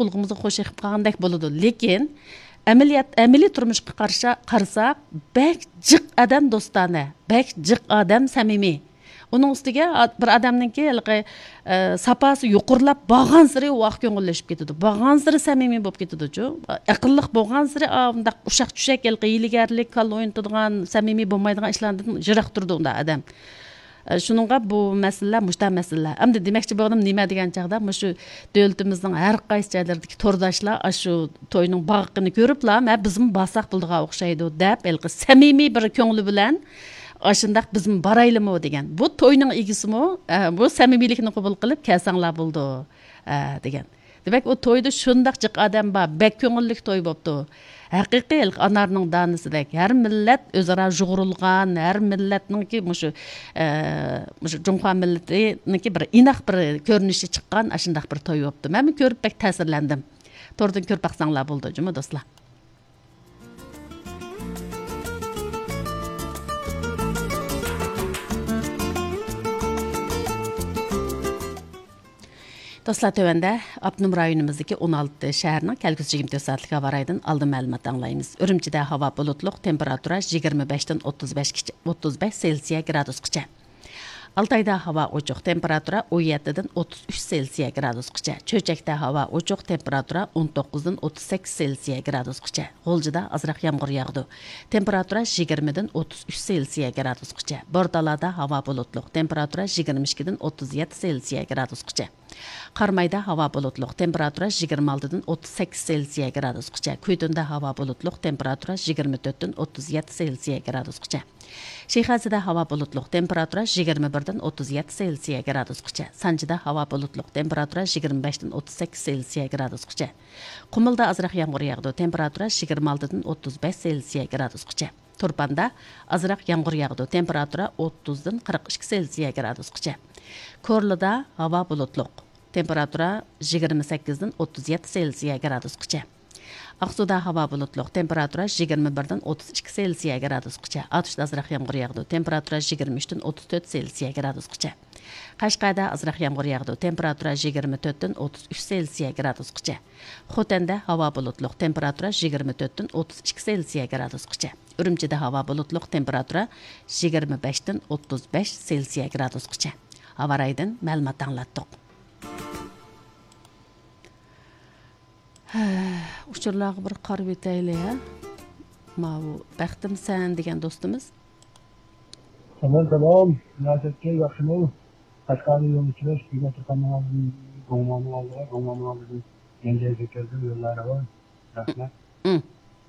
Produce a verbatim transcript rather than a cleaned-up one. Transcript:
قۇلىقىمىزغا خوش ئېقىپ قالغاندەك بولىدۇ. لېكىن ئەمەلىيەت، ئەمەلىي تۇرمۇشقا قارشا-، قارىساق، بەك جىق ئادەم دوستانە، بەك جىق ئادەم سەمىمىي. ئۇنىڭ ئۈستىگە ئا-، بىر ئادەمنىڭكى ھېلىقى، ئە، ساپاسى يۇقىرىلاپ بارغانسېرى ۋاق كۆڭۈللىشىپ كېتىدۇ، بارغانسېرى سەمىمىي بولۇپ كېتىدۇچۇ. ئەقىللىق بولغانسېرى ئا، مۇنداق ئۇششاق چۈشەك، ھېلىقى ھىيلىگەرلىك، كاللا ئوينىتىدىغان، سەمىمىي بولمايدىغان ئىشلاردىن يىراق تۇرىدۇ ئۇنداق ئادەم. ئە، شۇنىڭغا بۇ مەسىلىلەر، مۇشۇنداق مەسىلىلەر. ئەمدى دېمەكچى بولغىنىم نېمە دېگەن چاغدا، مۇشۇ دۆلىتىمىزنىڭ ھەر قايسى جايلىرىدىكى تورداشلار ئاشۇ توينىڭ بارلىقىنى كۆرۈپلا، مە، بىزمۇ بارساق بولىدىغان ئوخشايدۇ، دەپ، ھېلىقى سەمىمىي بىر كۆڭلى بىلەن، ئاشۇنداق بىزمۇ بارايلىمۇ دېگەن. بۇ توينىڭ ئىگىسىمۇ، ئە، بۇ سەمىمىيلىكنى قوبۇل قىلىپ كەلسەڭلار بولىدۇ، ئە، دېگەن. دېمەك، ئۇ تويدا شۇنداق جىق ئادەم بار، بەك كۆڭۈللۈك توي بوپتۇ. ھەقىقىي ھېلىقى ئانارنىڭ دانىسىدەك، ھەر مىللەت ئۆزئارا يۇغۇرۇلغان، ھەر مىللەتنىڭكى مۇشۇ، ئە، مۇشۇ جۇڭخۇا مىللىتىنىڭكى بىر ئىناق بىر كۆرۈنۈشى چىققان ئاشۇنداق بىر توي بوپتۇ. مەنمۇ كۆرۈپ بەك تەسىرلەندىم. توردىن كۆرۈپ باقساڭلار بولىدۇ جۇمۇ دوستلار. دوستلار، تۆۋەندە ئاپتونوم رايونىمىزدىكى ئون ئالتە شەھەرنىڭ كەلگۈسى يىگىرمە تۆت سائەتلىك ھاۋا رايىدىن ئالدىن مەلۇمات ئاڭلايمىز. ئۈرۈمچىدە ھاۋا بۇلۇتلۇق، تېمپېراتۇرا يىگىرمە بەشتىن ئوتتۇز بەشكىچە، ئوتتۇز بەش سېلسىيە گرادۇسقىچە. ئالتايدا ھاۋا ئوچۇق، تېمپېراتۇرا ئون يەتتىدىن ئوتتۇز ئۈچ سېلسىيە گرادۇسقىچە. چۆچەكتە ھاۋا ئوچۇق، تېمپېراتۇرا ئون توققۇزدىن ئوتتۇز سەككىز سېلسىيە گرادۇسقىچە. غۇلجىدا ئازراق يامغۇر ياغىدۇ. تېمپېراتۇرا يىگىرمىدىن ئوتتۇز ئۈچ سېلسىيە گرادۇسقىچە. بورتالادا ھاۋا بۇلۇتلۇق، تېمپېراتۇرا يىگىرمە ئىككىدىن ئوتتۇز يەتتە سېلسىيە گرادۇسقىچە. قارامايدا ھاۋا بۇلۇتلۇق، تېمپېراتۇرا يىگىرمە ئالتىدىن ئوتتۇز سەككىز سېلسىيە گرادۇسقىچە. كۈيتۇندا ھاۋا بۇلۇتلۇق، تېمپېراتۇرا يىگىرمە تۆتتىن ئوتتۇز يەتتە سېلسىيە گرادۇسقىچە. شىخەزىدە ھاۋا بۇلۇتلۇق، تېمپېراتۇرا يىگىرمە بىردىن ئوتتۇز يەتتە سېلسىيە گرادۇسقىچە. سانجىدا ھاۋا بۇلۇتلۇق، تېمپېراتۇرا يىگىرمە بەشتىن ئوتتۇز سەككىز سېلسىيە گرادۇسقىچە. قۇمۇلدا ئازراق يامغۇر ياغىدۇ، تېمپېراتۇرا يىگىرمە ئالتىدىن ئوتتۇز بەش سېلسىيە گرادۇسقىچە. تۇرپاندا ئازراق يامغۇر ياغىدۇ، تېمپېراتۇرا ئوتتۇزدىن قىرىق ئىككى سېلسىيە گرادۇسقىچە. كورلىدا ھاۋا بۇلۇتلۇق، تېمپېراتۇرا يىگىرمە سەككىزدىن ئوتتۇز يەتتە سېلسىيە گرادۇسقىچە. ئاقسۇدا ھاۋا بۇلۇتلۇق، تېمپېراتۇرا يىگىرمە بىردىن ئوتتۇز ئىككى سېلسىيە گرادۇسقىچە. ئاتۇشتا ئازراق يامغۇر ياغىدۇ، تېمپېراتۇرا يىگىرمە ئۈچتىن ئوتتۇز تۆت سېلسىيە گرادۇسقىچە. قەشقەردە ئازراق يامغۇر ياغىدۇ، تېمپېراتۇرا يىگىرمە تۆتتىن ئوتتۇز ئۈچ سېلسىيە گرادۇسقىچە. خوتەندە ھاۋا بۇلۇتلۇق، تېمپېراتۇرا يىگىرمە تۆتتىن ئوتتۇز ئىككى سېلسىيە گرادۇسقىچە. ئۈرۈمچىدە ھاۋا بۇلۇتلۇق، تېمپېراتۇرا يىگىرمە بەشتىن ئوتتۇز بەش سېلسىيە گرادۇسقىچە. ھاۋا رايىدىن مەلۇمات ئاڭلاتتۇق. ھە، ئۇچۇرلارغا بىر قارىۋېتەيلى، ھە. ماۋۇ بەختىم سەن دېگەن دوستىمىز. سالام، سالام. رىياسەتكە ياخشىمۇ؟ قەشقەردە يولنى چىقىش، بۈگۈن تۇرپاننىڭ ئالدىدىن، گوڭماننىڭ ئالدىغا، گوڭماننىڭ ئالدىدىن يەنجەيگە كەلدىم، يوللار راۋان. رەھمەت. ئىم.